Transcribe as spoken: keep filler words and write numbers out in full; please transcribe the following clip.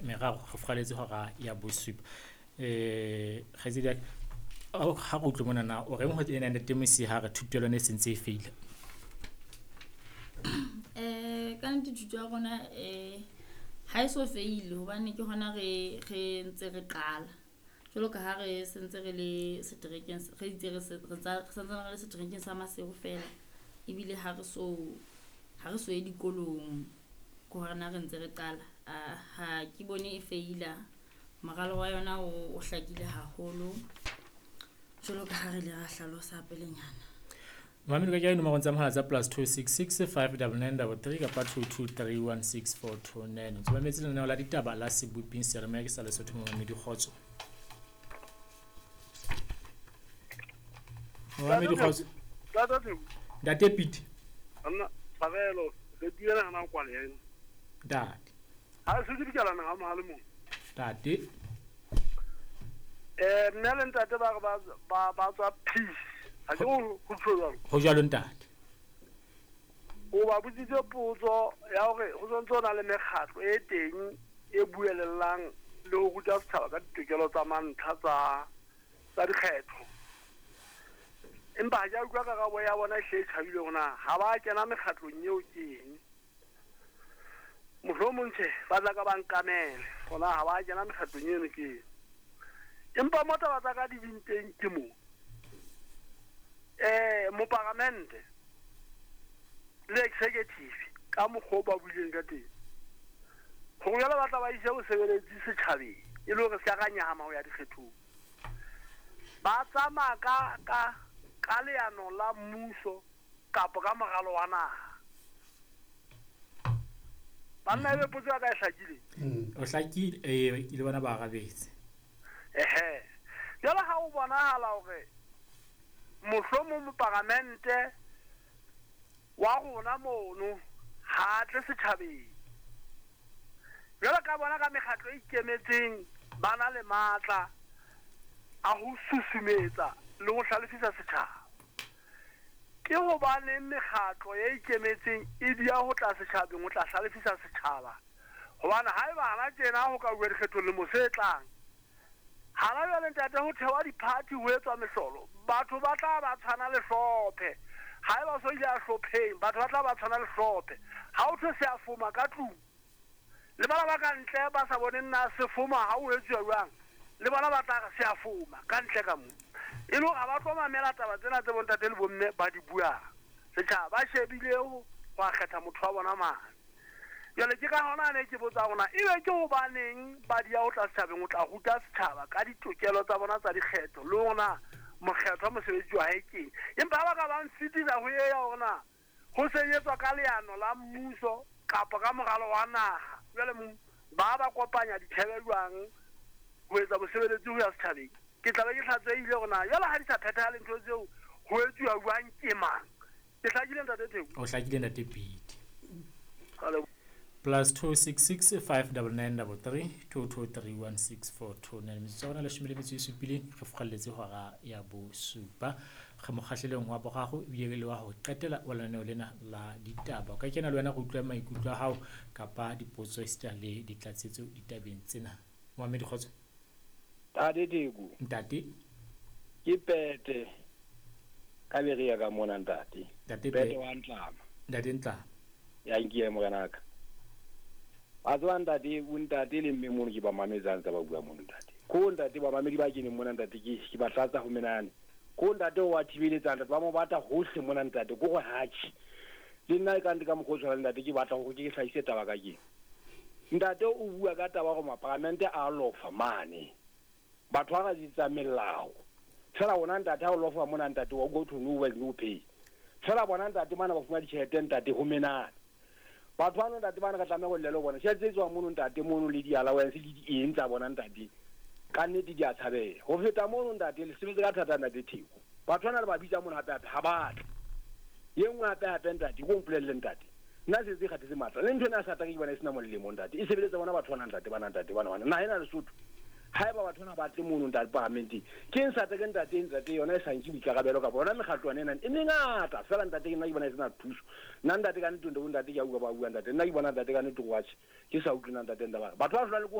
meraro re furaletse hora ya bosupa. Eh kgaitsedi ya ka, ha re utlwe mona na o reng ho ena ntate Mosia ha re thuto ya lona e sentse e feile? Eh ka nnete thuto ya rona eh ha e so feile hobane ke hona re re ntse re qala. Jwalo ka ha re sentse re le seterekeng re itse re se re tsa re santsane re le seterekeng sa Maseru fela. Ebile ha re so ha re so ye dikolong ke hona re ntse re qala. Ha ke bone e feila. Moralo wa yona o, o hlakile haholo. Jwalo ka ha re ile ra hlalosa pelenyana. Mamedi ka kena dinomorong tsa mohala tsa plus two six six five double nine double three kapa two two three one six four two nine. O ntso mametse lenaneo la ditaba la Seboping seyalemoya ke sa Lesotho Momamedi Kgotso. Momamedi Kgotso. Ntate Pete. Nna tshwarelo re buela hana kwale ena. Ntate. Ha se ke dikala na ha le mong. Ntate. Eh nna le ntate ba re ba ba ba tswa peace. Ha ke ho tjho jwalo. Ho jwalo ntate. O ba botsitse potso ya hore ho sontse ho na le mekgatlo e teng e buelellang le ho ruta setjhaba ka ditokelo tsa mantlha tsa tsa dikgetho. Empa ha ke a utlwa karabo ya bona e hle e tjhabile hore na ha ba kena mekgatlong eo ke eng. Mohlomong tjhe ba tla ka ba nkamele hona ha ba kena mekgatlong eno ke eng. Empa mo taba tsa ka di ding teng ke mo. Eh moparamente le executive ka mokgwa o ba buileng ka teng. Hore jwale ba tla ba ise bosebeletsi setjhabeng e le hore se ka nyahama ho ya dikgethong. Ba tsamaya ka ka ka leano la mmuso kapa ka moralo wa naha. Banna ebe potso ya ka e hlakile? O hlakile eh le bona ba arabetse. Ehe. Jwale ha o bonahala hore mohlomong moparamente wa rona mono ha tle setjhabeng. Jwale ka bona ka mekgatlo e ikemetseng ba na le matla a ho susumetsa le ho hlalefisa setjhaba. Ke hobaneng mekgatlo e ikemetseng e dia ho tla setjhabeng ho tla hlalefisa setjhaba? Hobane haeba hana tjena ho ka uwa dikgethong le mose tlang. Hana jwale ntate ho thewa di-party ho etswa mehlolo. Batho ba tla ba tshwana le hlophe. Haeba so ile a hlopheng, batho ba tla ba tshwana le hlophe. Ha o thwe se a foma ka tlung. Le bana ba ka ntle ba sa boneng na se foma ha o etsuwa jwang. Le bona ba tla re se a foma ka ntle ka mo. E le hore ha ba tlo mamela taba tsena tse bontate le bomme ba di buang. Setjhaba ba shebile ho a kgetha motho wa bona mane. Jwale ke ka hona ne ke botsa hore na ebe ke hobaneng ba di ya ho tla setjhabeng ho tla ruta setjhaba ka ditokelo tsa bona tsa dikgetho le hore na mokgetho wa mosebetsi wa hae keng. Empa ha ba ka ba nsitisa ho ya hore na ho sebetswa ka leano la mmuso kapa ka moralo wa naha. Jwale ba ba kopanya dithebe jwang ho etsa bosebeletsi ho ya setjhabeng. Ke tla be ke hlatswehile hore na jwale ha di sa phethahale ntho tseo ho etsuwa jwang ke mang. Ke hlakile ntate Theko? O hlakile ntate Pete. Plus two six six five double nine double three two two three one six four two nine. Metsotso ya rona leshome le metso e supileng re furaletse hora ya bosupa. Re mokgahlelong wa boraro ebile le wa ho qetela wa lenaneo lena la ditaba. O ka kena le wena re utlwe maikutlo a hao kapa dipotso esita le ditlatsetso ditabeng tsena. Mohamedi Kgotso. Ntate Theko. Ntate. Ke Pete ka beria ka mona ntate. Ntate Pete wa Ntlama. Ntate Ntlama. Ya nkiye morenaka. Ba tswa ntate o ntate le mme mono ke ba mametsang tsa ba bua mono ntate. Ko ntate ba mamedi ba keneng mona ntate ke ke ba tlatsa ho menane. Ko ntate o wa thibeletsa ntate ba mo batla hohle mona ntate ko go hatjhe. Le nna e ka nte ka mokgwa o tshwanang ntate ke batla hore ke hlahise taba ka keng. Ntate o bua ka taba hore maparamente a lofa mane. Batho ba etsa melao. Fela wona ntate ha o lofa mona ntate wa go to no work no pay. Fela bona ntate mana ba fuma ditjhelete ntate ho menane. Batho ba no ntate bana ka tlameha ho llela bona. Tjhelete tse tswang mono ntate mono le di-allowance le di eng tsa bona ntate. Ka nnete di a tshabeha. Ho feta mono ntate le sebetse ka thata ntate Theko. Batho bana le ba bitsa mono hape hape ha ba tle. Ye nngwe hape hape ntate ko mpolelle ntate. Nna se se kgathetse matla. Le ntho ena sa ke bona e sena molemo ntate. E sebeletsa bona batho bana ntate bana ntate bana bana. Naha ena Lesotho. Haeba batho bana ba tle mono ntate paramenteng. Ke eng sa ke ntate ntate yona e sa nke boikarabelo ka bona mekgatlo ena e mengata fela ntate ke nna ke bona e sena thuso. Nna ntate ka nnete ntate ke a utlwa ba bua ntate. Nna ke bona ntate ka nnete watch ke sa utlwe ntate ntate. Batho ba hlola le ko